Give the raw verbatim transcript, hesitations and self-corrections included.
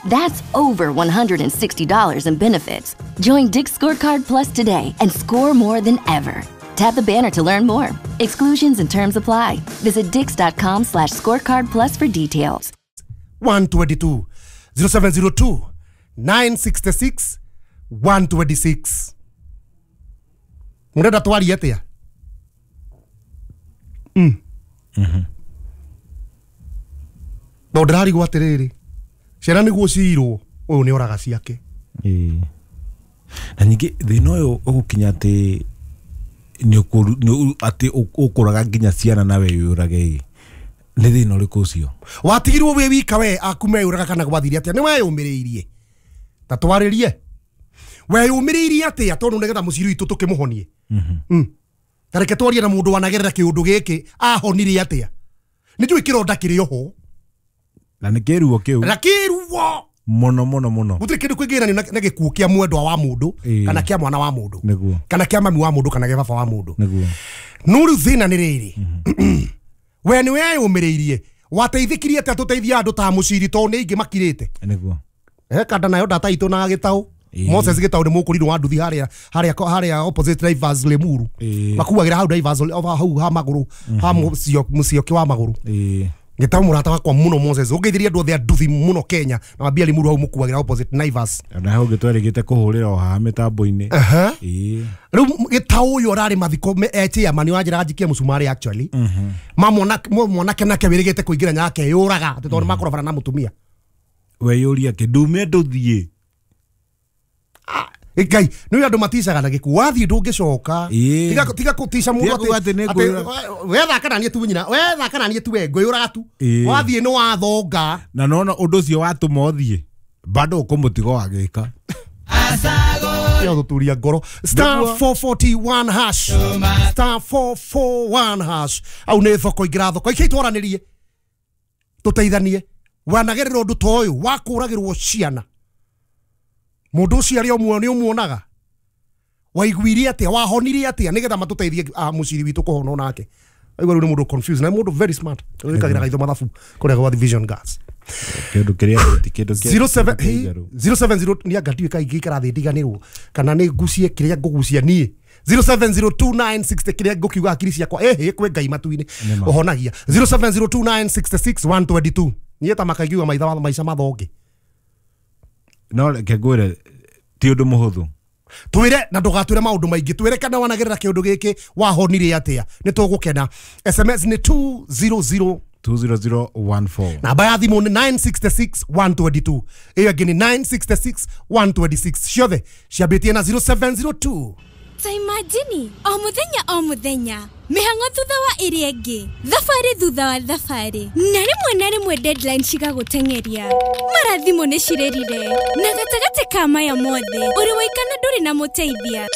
That's over one hundred sixty dollars in benefits. Join Dick's Scorecard Plus today and score more than ever. Tap the banner to learn more. Exclusions and terms apply. Visit dicks.com slash scorecard plus for details. one twenty-two zero seven zero two nine six six one two six. Murenda twarie atia? Mm. Mhm. No ndirarigwo atiriri. Ciana niguo ciirwo uyu ni oraga ciake. Ĩĩ. Na ningĩ thĩna ũyũ ũgũkinya atĩ nĩ atĩ ũkũraga nginya ciana nawe wĩyũrage ĩ. Nĩ thĩna ũrĩkũ ũcio? Watigirwo wĩ wika we aku meyũraga kana gwathire atĩa? Nĩ weyũmĩrĩirie. Ta twarĩrie. Weyũmĩrĩirie atĩa tondũ nĩgetha mũciri witũ tũkĩmũhonie? Mhm. Mm. Ta reke twarie na mũndũ wanagerera kĩũndũ gĩkĩ ahonire atĩa? Nĩ njũĩ kĩronda kĩrĩ oho. Na nĩ kĩruo kĩu. Na kĩruo mũno mũno mũno. Gũtirĩ kĩndũ kĩngĩgeranio na gĩkuũ kĩa mwendwa wa mũndũ kana kĩa mwana wa mũndũ. Nĩguo. Kana kĩa mami wa mũndũ kana kĩa baba wa mũndũ. Nĩguo. No rĩu thĩna nĩ rĩrĩ. We nĩ weyũmĩrĩirie. Wateithĩkirie atĩa tũteithia andũ ta mũciri tondũ nĩ aingĩ makirĩte. Nĩguo. He kanda nayo data itũ na gĩtaũ. Moses gĩtaũ nĩ mũkũrirũ wa nduthi harĩa harĩa harĩa opposite drivers Limuru. Makuagĩra hau drivers hau ha magũrũ ha mũcio mũcioki wa magũrũ. Gĩtaũ mũrata wakwa mũno Moses ũngeithirie andũ othe a nduthi mũno Kenya na mambia Limuru hau mũkuagĩra opposite Naivas. Na hau gĩtwarĩgĩte kũhũrĩra o haha mĩtambo-inĩ. Ĩĩ. Rĩu gĩtaũ ũyũ ararĩ mathiko e chairman wa njĩra njikie mũcumarĩ actually. Ma mwanake nake wĩrĩgĩte kũingĩra nyake yũraga atĩ tondũ makorobana na mũtumia. Weyũria kĩ ndume ndũthiĩ. Ngai nĩ andũ maticaga na gĩkuũ wathiĩ ndũngĩcoka. Tiga tiga kũtica mũndũ atĩ wethaka na niĩ tu nyina wethaka na niĩ tu we ngwĩyũraga tu wathiĩ nĩ wathonga. Na nona ũndũ ũcio watũma ũthiĩ bado ũkũmũtigo wagĩka. Ya gũturia ngoro. Star four forty-one hash. Star four four one hash. Au nĩ thoko ingĩra thoko ikĩ twaranĩrie tũteithanie. Wanagerera ũndũ ta ũyũ wa kũragĩrwo ciana. Mũndũ ũcio arĩ o muoyo nĩ ũmuonaga. Waiguire atĩa? Wahonire atĩa nĩgetha matũteithie mũciri witũ kũhona onake. Aigua rĩu nĩ mũndũ confused na mũndũ very smart. Wĩkagĩra gaitho mathabu kũrĩa gwa Vision Gas. Kĩndũ kĩrĩa ti kĩndũ kĩa zero seven zero nĩ anga ndiũĩ kaingĩ ikara thĩ ndiganĩrwo kana nĩ ngucie kĩrĩa ngũgucia niĩ. zero seven zero two nine six kĩrĩa ngũkiuga hakiri ciakwa ĩhĩ kwĩ Ngai matu-inĩ ũhonagia. zero seven zero two nine six six one two two. Niĩ ta makaiguaga maitha maica mathonge. No reke ngwĩre ti ũndũ mũhũthũ. Twĩre na ndũgatwĩre maũndũ maingĩ twĩre kana wanagerera kĩũndũ gĩkĩ wahonire atĩa nĩ tũgũkena. S M S nĩ two zero zero two zero zero one four. Namba ya thimũ nĩ nine six six one two two. Ĩyo ĩngĩ nĩ nine six six one two six. Ciothe ciambĩtie na zero seven zero two. Ta imagine o mũthenya o mũthenya mĩhang'o thutha wa ĩrĩa ĩngĩ thabarĩ thutha wa thabarĩ na rĩmwe na rĩmwe deadline cigagũteng'eria mara thimũ nĩ cirĩrire na gatagatĩ ka maya mothe ũrĩ waikana ndũrĩ na mũteithia.